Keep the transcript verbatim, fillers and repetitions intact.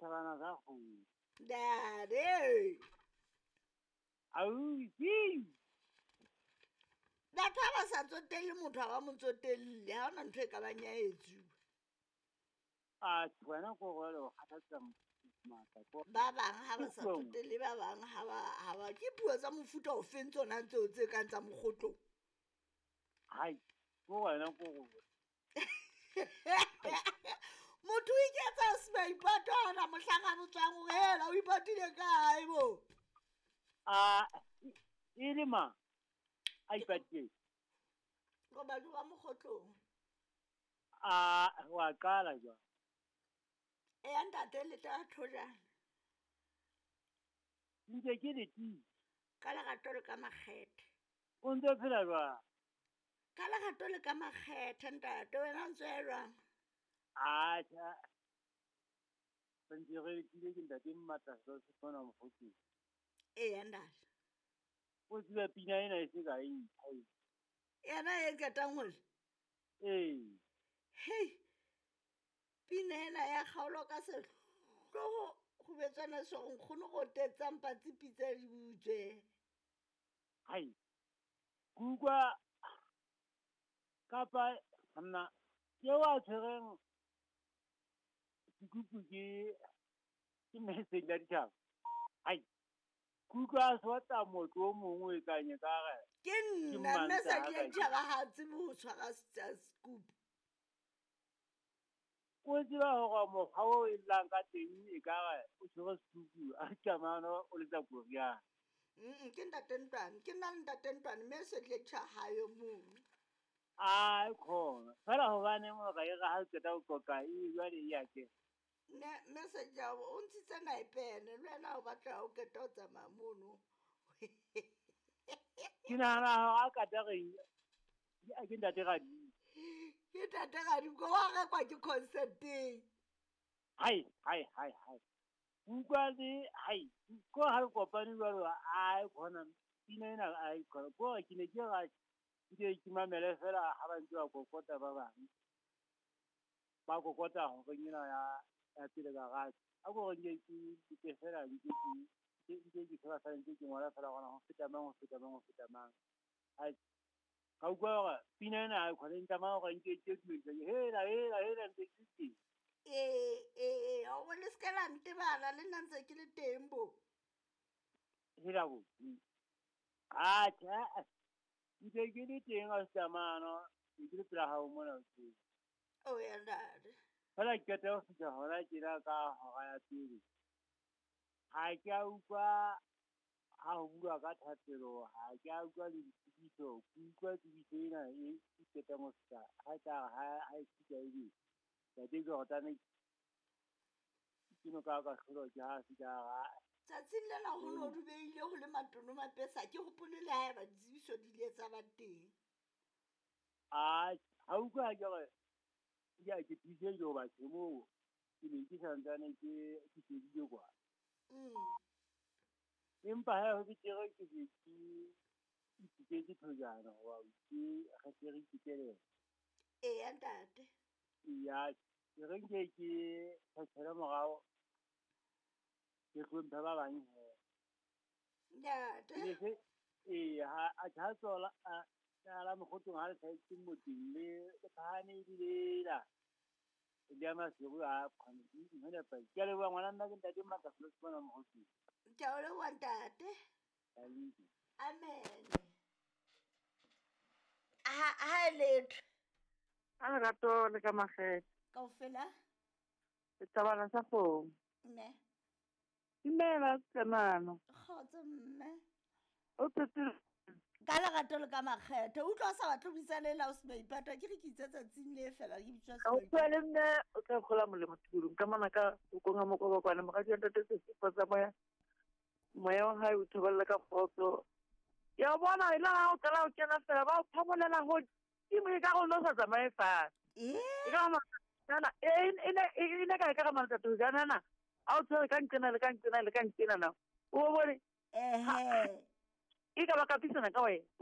Thabana sa kgomo. Ntate. Ausi. Batho ha ba sa tsotelle motho ha ba mo tsotelle, ha hona ntho e ka bang ya etsuwa. A wena ko gore o kgathatsa matla ko. Ba bang ha ba sa tsotelle ba bang ha ba ha ba ke puo tsa mofuta o feng tsona tseo tse kang tsa mokgotlong. Hai, ko wena ko gore. Motho o iketsa semaipato ha hona mohlang a botswang hore hela o ipatile kae bo. A e le mang a ipatileng? Robadi wa mokgotlong. A wa qala jwang? Eya ntate le tla thojana. Ntse ke le teng. Ka lerato le ka makgethe. O ntse o phela jwang? Ka lerato le ka makgethe ntate wena o ntse o ya jwang? Atjha. Re ntse re letile ke ntate Mmatla se mona mokgotlong. Eya ntate. O tseba pina ena e se ka e ntjha e. Yena e qetang ho lla? Ee. Hei. Pina ena ya kgaolo ka sehloho ho betswana so nkgono go tetsang patsi pitsa di butswe. Hai. Ke utlwa kapa nna ke wa tshwereng sekupu ke ke message ya ditjhaba. Hai. Ke utlwa a sotla motho o mongwe e kang e ka re Ke ke nna mme Mantaha sa ke kajeno. ditjhaba ha tsebe ho tshwara sekupu. O tseba hore mokgwa o e llang ka teng e ka re o tshwere sekupu a tsamaya o letsa koriana. Mm ke ntate Ntwane, ke nna le ntate Ntwane mme se tle tjha hayo mono. Ai khona. Fela hobaneng hore e re ha o qeta ho qoqa e jwale e ya kena. Ne message ya o ntshitse naepene le wena o batla o qeta ho tsamaya mono. Ke nahana hore a kata reng ke ntate Radimo. Ke ntate Radimo ko wa rekwa ke concert-eng. Hai hai hai hai. Utlwa le hai ko ha re kopane jwalo ai khona pina ena ai khona ko ke ne ke ra ke ke mamele fela ha ba ntse ba kokota ba bang. Ba kokota hore ena ya ya pele garage. A ko re nke ke ke fela nke ke nke ke fela fela nke ke ngola fela hore ho feta mang ho feta mang ho feta mang. Ai ka utlwa hore pina ena ai khona ntama hore nke ke dumedisa hela hela hela ntse ke teng. Ee ee o le se la ntebala le nna ntse ke le teng bo. Hela bo. Atjha ntse ke le teng a tsamano ke le pela hao mona o. O ya ntate. Fela ke qeta ho fihla hona tjena ka hora ya pele. Ha ke a utlwa ha ho bua ka thapelo, ha ke a utlwa le ditsebiso, ke utlwa tsebiso ena e qetang ho fihla ha tla ha ha e fihla ebe. Ntate Jordan ke no ka ka hlolwa ke ha fihla ha Tsatsing lena ho no dubeile ho le matono mapesa ke hopole le haeba ditsebiso di ile tsa ba teng. A ha utlwa ke re ya ke thuse jo ba ke mo ke ne ke santsane ke ke shebile kwa. Mm. Empa ha ho betere ke ke ke ke ke thojana hoba ke re se re ikelela. Eya ntate. Ya ke re nke ke tjhela morao ke hlomphe ba bang he. Ntate. Ne se e ha a tjha tsola a la mokgotlong ha le tshwaetse motseng le le phahame ebile la le ya Maseru a khona ke pa. Ke a leboha ngwana nna ke ntate Matla se mona mokgotlong. Ke a o leboha ntate. Amen. Amen. Ha ha letho. A lerato le ka makgethe. Kaofela? Setabana sa kgomo. Mme. Dumela Tsenano. Kgotso mme. O phetse Ka lerato le ka makgethe. O utlwa o sa batle ho buisana le la o semaipato. Ke re ke itse tsatsing le fela ke bitswa Ka utlwa le mme o tla kgola molemo tulong ka mona ka o konga mokobakwane moradi wa ntate Sesipo sa moya. Moya wa hae o thobella ka kgotso. Ya bona e la ha o qala o kena fela ba o phamolela hodimo e ka re o no sa tsamaye fatshe. Eh? E ka re kana e e ne e ne ka e ka re matsatsi jana na. A o tshwere ka nqena le ka nqena le ka nqena na. O bone Ehe. E ka ba kapisana ka wena.